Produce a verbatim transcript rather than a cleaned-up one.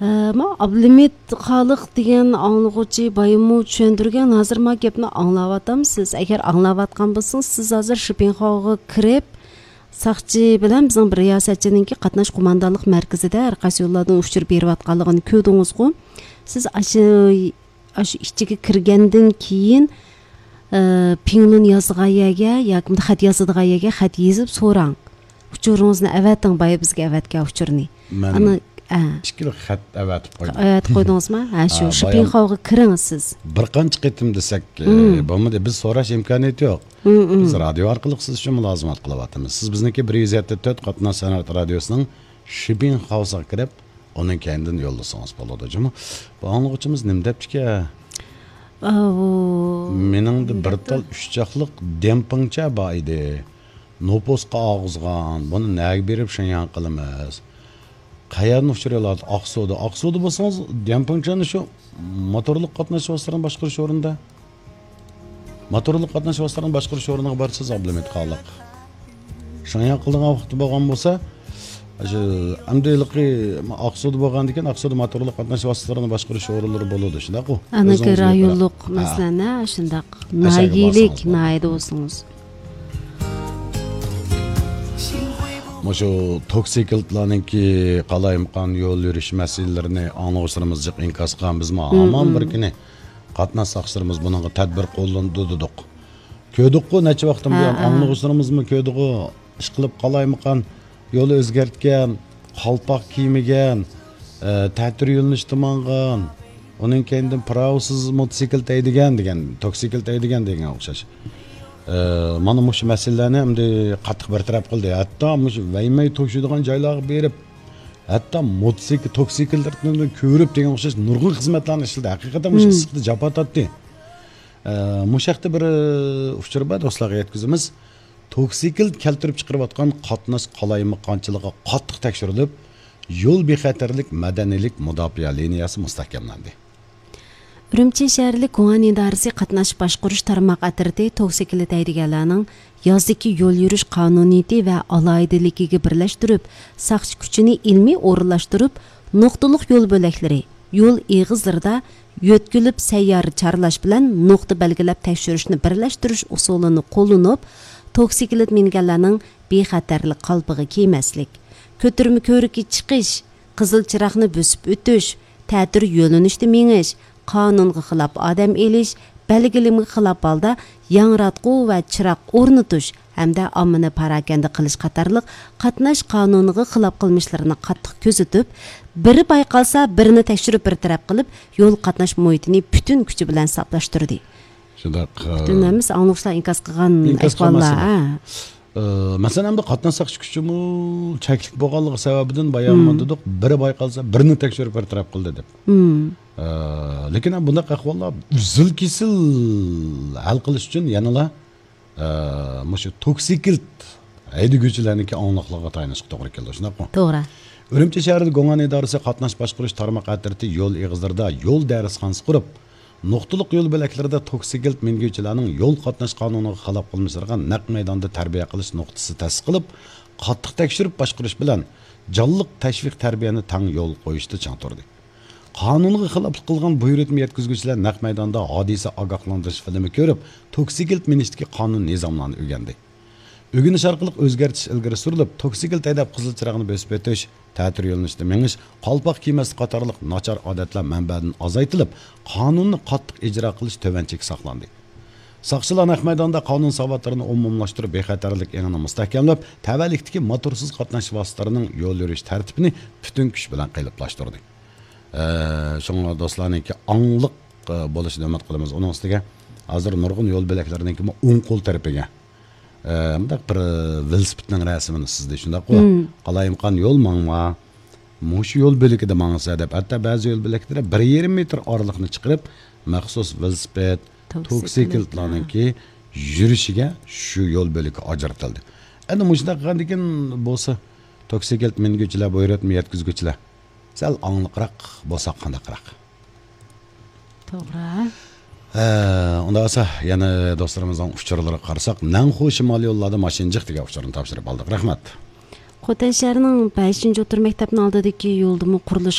ئەمما ئابلىمىت خالىق دېگەن ئاڭلىغۇچى بايىمۇ چۈشەندۈرگەن، ھازىر ما گەپنى ئاڭلاۋاتامسىز؟ ئەگەر ئاڭلاۋاتقان بولسىڭىز، سىز ھازىر شىپىنخاۋغا كىرىپ، ساقچى بىلەن بىزنىڭ بىر رىياسەتچىنىڭكى قاتناش قوماندانلىق مەركىزىدە ھەر قايسى يوللاردىن ئۇچۇر بېرىۋاتقانلىقىنى كۆردىڭىزغۇ؟ سىز ئاشۇ، ئاشۇ ئىچىگە كىرگەندىن كېيىن، ئە، پىڭلۇن يازىدىغان يەرگە ياكى خەت يازىدىغان يەرگە خەت يېزىپ سوراڭ. ئۇچۇرىڭىزنى ئەۋەتىڭ، بايا بىزگە ئەۋەتكەن ئۇچۇرنى. مەن ئانا، ئە. ئىككى خىل خەت ئەۋەتىپ قويدۇم. ئەۋەتىپ قويدىڭىزمۇ؟ ھە، شۇ، ھە، شىپىنخاۋغا كىرىڭىز سىز. بىر قانچە قېتىم دېسەك، ئە، مم. بولمىدى. بىز سوراش ئىمكانىيىتى يوق. مم، مم. بىز رادىيو ئارقىلىق سىز ئۈچۈن مۇلازىمەت قىلىۋاتىمىز. سىز بىزنىڭكى بىر يۈز يەتتە تۆت قاتناش سەنئەت رادىيوسىنىڭ شىپىنخاۋسىغا كىرىپ، ئۇنىڭ كەينىدىن يوللىسىڭىز بولىدۇ. جۇمۇ، بۇ ئاڭلىغۇچىمىز نېمە دەپتىكەن؟ ئاۋۇ. مېنىڭدە بىر تال ئۈچ چاقلىق دېڭپىڭچە بار ئىدى. نوپۇسقا ئالغۇزغان، بۇنى نەگە بېرىپ شېڭياڭ قىلىمىز؟ قەيەردىن ئۇچۇر ئالاتتى؟ ئاقسۇدا. ئاقسۇدا بولسىڭىز، دېڭپىڭچەنى شۇ موتورلۇق قاتناش ۋاسىتىلىرىنى باشقۇرۇش ئورنىدا. موتورلۇق قاتناش ۋاسىتىلىرىنى باشقۇرۇش ئورنىغا بارسىز، ئابلىمىت خالىق. شېڭياڭ قىلىدىغان ۋاقتى بولغان بولسا، شۇ ئەمدى ھېلىقى ئاقسۇدا بولغاندىكىن، ئاقسۇدا موتورلۇق قاتناش ۋاسىتىلىرىنى باشقۇرۇش ئورۇنلىرى بولىدۇ، شۇنداققۇ؟ ئانىكى ئۆزىڭىز رايونلۇق بىلىپ، ھە. مەسىلەن، ھە، شۇنداق. ئەشەگە ناھىيەلىك، بارسىڭىز بولىدۇ. ناھىيەدە بولسىڭىز. مۇشۇ توكسىكلىتلارنىڭكى قالايمىقان يول يۈرۈش مەسىلىلىرىنى ئاڭلىغۇچىلىرىمىز جىق ئىنكاس قىلغان، بىزمۇ ھامان بىر كۈنى قاتناش ساقچىلىرىمىز بۇنىڭغا تەدبىر قوللىنىدۇ دېدۇق. كۆردۇققۇ، نەچچە ۋاقىتتىن بۇيان ھە، ھە. ئاڭلىغۇچىلىرىمىزمۇ كۆردىغۇ، ئىشقىلىپ قالايمىقان يول ئۆزگەرتكەن، قالپاق كىيمىگەن، ئە، تەتۈر يۆنىلىشتە ماڭغان، ئۇنىڭ كەينىدىن پىراۋىسىز موتوسىكلىت ھەيدىگەن دېگەن، توكسىكلىت ھەيدىگەن دېگەنگە ئوخشاش. ئە، مانا مۇشۇ مەسىلىلەرنى ئەمدى قاتتىق بىر تەرەپ قىلدى. ھەتتا مۇشۇ ۋەيمەي توشۇيدىغان جايلارغا بېرىپ، ھەتتا موتوسىكل، توكسىكللارنى كۆرۈپ دېگەن ئوخشاش نۇرغۇن خىزمەتلەرنى ئىشلىدى. ھەقىقەتەن مۇشۇ ئىسسىقتا جاپا تارتتى. ئە، مۇشۇ ھەقتە بىر، ئە، ئۇچۇر بار، دوستلارغا يەتكۈزىمىز. توكسىكلىت كەلتۈرۈپ چىقىرىۋاتقان قاتناش قالايمىقانچىلىقى قاتتىق تەكشۈرۈلۈپ، يول بىخەتەرلىك مەدەنىيلىك مۇداپىئە لىنىيەسى مۇستەھكەملەندى. ئۈرۈمچى شەھەرلىك گۇڭئەن ئىدارىسى قاتناش باشقۇرۇش تارماق ئەترىتى توكسىكلىت ھەيدىگەنلەرنىڭ يازدىكى يول يۈرۈش قانۇنىيىتى ۋە ئالاھىدىلىكىگە بىرلەشتۈرۈپ، ساقچى كۈچىنى ئىلمىي ئورۇنلاشتۇرۇپ، نۇقتىلىق يول بۆلەكلىرى، يول ئېغىزلىرىدا يۆتكىلىپ سەييارە چارلاش بىلەن نۇقتا بەلگىلەپ تەكشۈرۈشنى بىرلەشتۈرۈش ئۇسۇلىنى قوللىنىپ، توكسىكلىت مىنگەنلەرنىڭ بىخەتەرلىك قالپىقى كىيمەسلىك، كۆتۈرمە كۆۋرۈككە چىقىش، قىزىل چىراغنى بۆسۈپ ئۆتۈش، تەتۈر يۆنىلىشتە مېڭىش، قانۇنغا خىلاپ ئادەم ئېلىش، بەلگىلىمىگە خىلاپ ھالدا ياڭراتقۇ ۋە چىراغ ئورنىتىش ھەمدە ئاممىنى پاراكەندە قىلىش قاتارلىق قاتناش قانۇنىغا خىلاپ قىلمىشلىرىنى قاتتىق كۆزىتىپ، بىرى بايقالسا، بىرىنى تەكشۈرۈپ بىر تەرەپ قىلىپ، يول قاتناش مۇھىتىنى پۈتۈن كۈچى بىلەن ساپلاشتۇردى. شۇنداق، پۈتۈن ئە، ھەممىسى ئاڭلىغۇچىلار ئىنكاس قىلغان ئىنكاس ئەھۋاللار. قىلماسىمۇ؟ ھە. ئە، مەسىلەن، ئەمدى قاتناش ساقچى كۈچىمۇ چەكلىك بولغانلىقى سەۋەبىدىن بايان دېدۇق، بىرى بايقالسا، بىرىنى تەكشۈرۈپ بىر تەرەپ قىلدى دەپ. ئە، لېكىن بۇنداق ئەھۋاللار ئۈزۈل كېسىل ھەل قىلىش ئۈچۈن يەنىلا، ئە، مۇشۇ توكسىكلىت ھەيدىگۈچىلەرنىڭكى ئاڭلىقلىقىغا تايىنىشقا توغرا كېلىدۇ، شۇنداقمۇ؟ توغرا. ئۈرۈمچى شەھىرىدە گۇڭئەن ئىدارىسى قاتناش باشقۇرۇش تارماق ئەترىتى يول ئېغىزلىرىدا يول دەرسخانىسى قۇرۇپ، نۇقتىلىق يول بۆلەكلىرىدە توكسىكلىت مىنگۈچىلەرنىڭ يول قاتناش قانۇنىغا خىلاپ قىلمىشلىرىغا نەق مەيداندا تەربىيە قىلىش نۇقتىسى تەسىس قىلىپ، قاتتىق تەكشۈرۈپ باشقۇرۇش بىلەن جانلىق تەشۋىق تەربىيەنى تەڭ يول قويۇشتا چىڭ تۇردى. قانۇنغا خىلاپلىق قىلغان بۇيرۇتما يەتكۈزگۈچىلەر نەق مەيداندا ھادىسە ئاگاھلاندۇرۇش فىلىمى كۆرۈپ، توكسىكلىت مىنىشتىكى قانۇن نىزاملارنى ئۆگەندى. ئۆگىنىش ئارقىلىق ئۆزگەرتىش ئىلگىرى سۈرۈلۈپ، توكسىكلىت ھەيدەپ قىزىل چىراغنى بۆسۈپ ئۆتۈش، تەتۈر يۆنىلىشتە مېڭىش، قالپاق كىيمەسلىك قاتارلىق ناچار ئادەتلەر مەنبەدىن ئازايتىلىپ، قانۇننى قاتتىق ئىجرا قىلىش تۆۋەنچىگە ساقلاندى. ساقچىلار نەق مەيداندا قانۇن ساۋاتلىرىنى ئومۇملاشتۇرۇپ، بىخەتەرلىك ئېڭىنى مۇستەھكەملەپ، تەۋەلىكتىكى موتورسىز قاتناش ۋاسىتىلىرىنىڭ يول يۈرۈش تەرتىپىنى پۈتۈن كۈچ بىلەن قېلىپلاشتۇردى. ئە، شۇڭا دوستلارنىڭكى ئاڭلىق، ئە، بولۇشىنى ئۈمىد قىلىمىز. ئۇنىڭ ئۈستىگە ھازىر نۇرغۇن يول بۆلەكلىرىنىڭكىمۇ ئوڭ قول تەرىپىگە، ئە، مۇنداق بىر ۋېلىسىپىتنىڭ رەسىمىنى سىزدى، شۇنداققۇ؟ قالايمىقان يول ماڭما، مۇشۇ يول بۆلىكىدە ماڭسا دەپ، ھەتتا بەزى يول بۆلەكلىرى بىر يېرىم مېتىر ئارىلىقنى چىقىرىپ، مەخسۇس ۋېلىسىپىت، توكسىكلىتلارنىڭكى يۈرۈشىگە شۇ يول بۆلىكى ئاجرىتىلدى. ئەنە مۇشۇنداق قىلغاندىكىن بولسا، توكسىكلىت مىنگۈچىلەر، بۇيرۇتما يەتكۈزگۈچىلەر سەل ئاڭلىقراق بولساق قانداقراق؟ توغرا. ھە، ئۇنداق بولسا، يەنە دوستلىرىمىزنىڭ ئۇچۇرلىرىغا قارىساق، نەنخۇ شىمالىي يوللاردا ماشىنا جىق دېگەن ئۇچۇرنى تاپشۇرۇپ ئالدۇق. رەھمەت. خوتەن شەھىرىنىڭ بەشىنچى ئوتتۇرا مەكتەپنىڭ ئالدىدىكى يولدىمۇ قۇرۇلۇش